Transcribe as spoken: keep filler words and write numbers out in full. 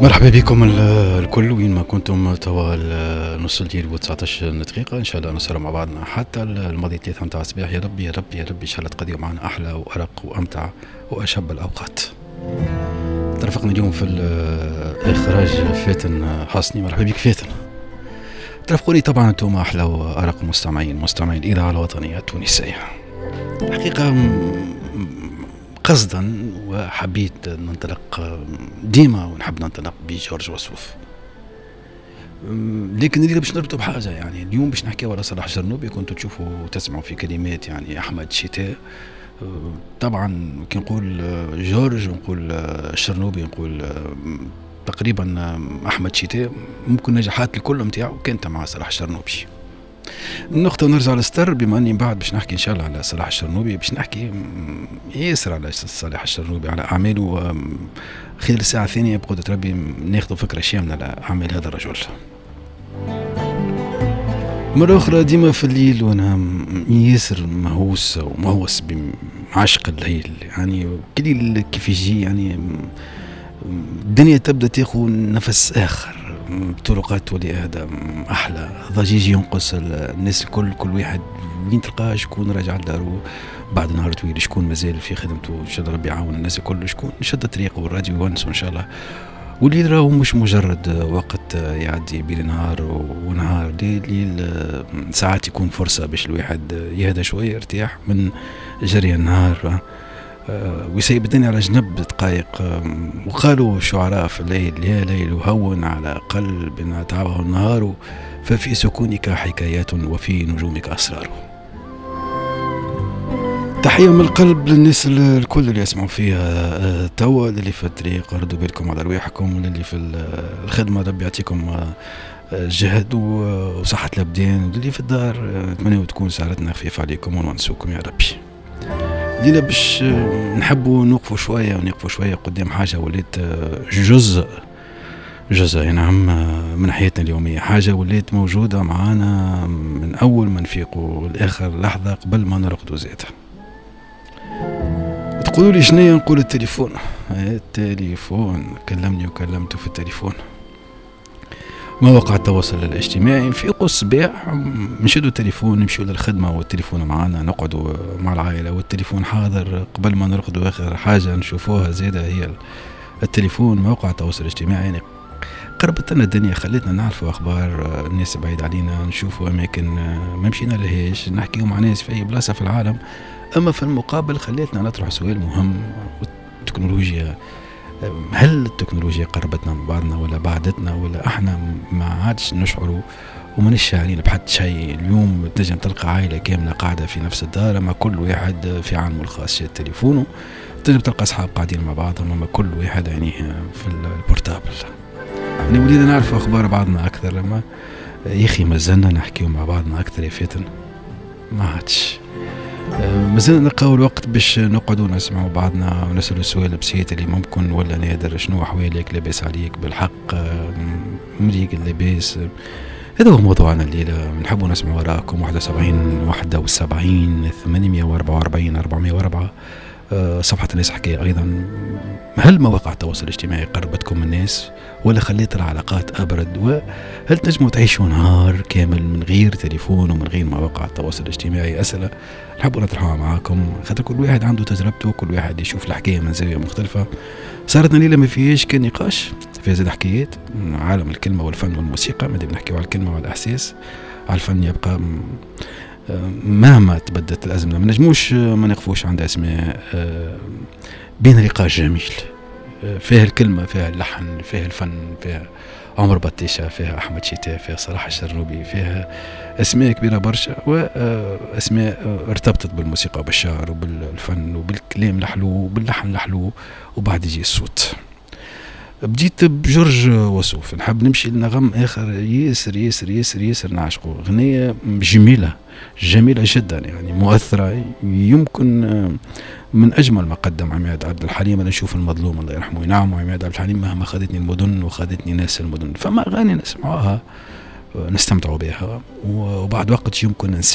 مرحبا بكم الكل وين ما كنتم. توا نص الليل وتسعطاش دقيقة، ان شاء الله نسهروا مع بعضنا حتى الماضي ثلاثة متاع الصباح. يا ربي يا ربي يا ربي ان شاء الله تقضيوا معنا احلى وارق وامتع واشب الاوقات. ترافقنا اليوم في الاخراج فاتن حسني، مرحبا بك فاتن. ترافقوني طبعا انتم احلى وارق مستمعين مستمعين الاذاعة الوطنية التونسية. الحقيقة قصدا وحبيت ننطلق ديما ونحب ننطلق بجورج وسوف، لكن اللي باش نربطه بحاجة، يعني اليوم باش نحكيو على صلاح الشرنوبي. كنتوا تشوفوا وتسمعوا في كلمات يعني احمد شتاء. طبعا كي نقول جورج ونقول الشرنوبي نقول تقريبا احمد شتاء، ممكن نجاحات الكل نتاعو كانت مع صلاح الشرنوبي. النقطة نرجع للستر، بما اني بعد باش نحكي ان شاء الله على صلاح الشرنوبي، باش نحكي ياسر على صلاح الشرنوبي على اعماله خلال الساعة الثانية بقدرة ربي ناخذ فكرة شاملة على اعمال هذا الرجل. مرة أخرى ديما في الليل وأنا ياسر مهووس ومهووس بعشق الليل، يعني كل كيف يجي يعني الدنيا تبدا تاخذ نفس آخر، الطرقات تولي اهدى احلى، ضجيج ينقص، الناس الكل كل واحد وين تلقاه شكون راجع لدارو بعد نهار طويل، شكون مازال في خدمته، ان شاء الله ربي يعاون الناس الكل، شكون شد طريقه والراديو يونس ان شاء الله. والليل راهو مش مجرد وقت يعدي بين نهار ونهار، ليل ليل ساعات يكون فرصة باش الواحد يهدى شوية، يرتاح من جري النهار ويسيب الدنيا على جنب دقائق. وقالوا الشعراء في الليل: يا ليل هون على قلب تعبه النهار، ففي سكونك حكايات وفي نجومك أسرار. تحية من القلب للناس الكل اللي يسمعوا فيها توا، اللي في الطريق ردوا بالكم على رواحكم، واللي في الخدمة ربي يعطيكم جهد وصحة الأبدان، واللي في الدار نتمنى تكون سهرتنا خفيفة عليكم ونونسوكم يا ربي. لينا باش نحبوا نوقفوا شوية ونقفوا شوية قدام حاجة ولات جزء جزء نعم من حياتنا اليومية، حاجة ولات موجودة معانا من أول ما نفيقوا لآخر لحظة قبل ما نرقدوا زادة. تقولوا لي شنيا؟ نقول التليفون. التليفون كلمني وكلمته في التليفون. مواقع التواصل الاجتماعي، نفيقوا الصباح نشدوا التليفون، نمشيو للخدمة والتليفون معانا، نقعدوا مع العائلة والتليفون حاضر، قبل ما نرقدوا آخر حاجة نشوفوها زادة هي التليفون. مواقع التواصل الاجتماعي يعني قربت لنا الدنيا، خلتنا نعرفوا أخبار الناس بعيد علينا، نشوفوا أماكن ما مشينا لهاش، نحكيو مع ناس في أي بلاصة في العالم. أما في المقابل خلتنا نطرح سؤال مهم: والتكنولوجيا، هل التكنولوجيا قربتنا من بعضنا ولا بعدتنا، ولا احنا ما عادش نشعروا وما شاعرين بحد شيء؟ اليوم تنجم تلقى عائلة كاملة قاعدة في نفس الدار، اما كل واحد في عالمه الخاص شاد تليفونه. تنجم تلقى اصحاب قاعدين مع بعضهم، اما كل واحد يعني في ال portable. يعني ولينا نعرفوا اخبار بعضنا اكثر، لما يا اخي مازلنا نحكيو مع بعضنا اكثر يا فاتن، ما عادش مازلنا نلقاو الوقت باش نقعدوا نسمعوا بعضنا ونسألوا السؤال البسيط اللي ممكن ولا نادر: شنو أحوالك؟ لاباس عليك؟ بالحق مريق لاباس؟ هذا هو موضوعنا الليلة، نحبوا نسمعوا آراءكم. واحد وسبعين واحد وسبعين ثمانمية وأربعة وأربعين أربعمية وأربعة، صفحة الناس حكاية أيضا. هل مواقع التواصل الاجتماعي قربتكم من الناس ولا خليت العلاقات أبرد؟ وهل تنجموا تعيشوا نهار كامل من غير تليفون ومن غير مواقع التواصل الاجتماعي؟ أسئلة نحبوا نطرحوها معاكم، خاطر كل واحد عنده تجربته، كل واحد يشوف الحكاية من زاوية مختلفة. صارتنا ليلة ما فيهاش كان نقاش، فيها زاد حكايات من عالم الكلمة والفن والموسيقى. مادام نحكيو على الكلمة وعلى الإحساس، على الفن يبقى مهما تبدلت الأزمنة ما نجموش ما نقفوش عند أسماء بين نقاش جميل فيها الكلمة، فيها اللحن، فيها الفن، فيها عمر بطيشة، فيها أحمد شتاء، فيها صلاح الشرنوبي، فيها أسماء كبيرة برشا، وأسماء ارتبطت بالموسيقى وبالشعر وبالفن وبالكلام الحلو وباللحن الحلو، وبعد يجي الصوت. بديت بجورج وسوف، نحب نمشي لنغم آخر ياسر ياسر ياسر ياسر نعشقه، غنية جميلة جميلة جدا يعني مؤثرة، يمكن من أجمل ما قدم عماد عبد الحليم. أنا نشوف المظلوم الله يرحمه وينعمه عماد عبد الحليم مهما خذتني المدن وخذتني ناس المدن، فما أغاني نسمعوها نستمتعوا بها وبعد وقت يمكن ننسى.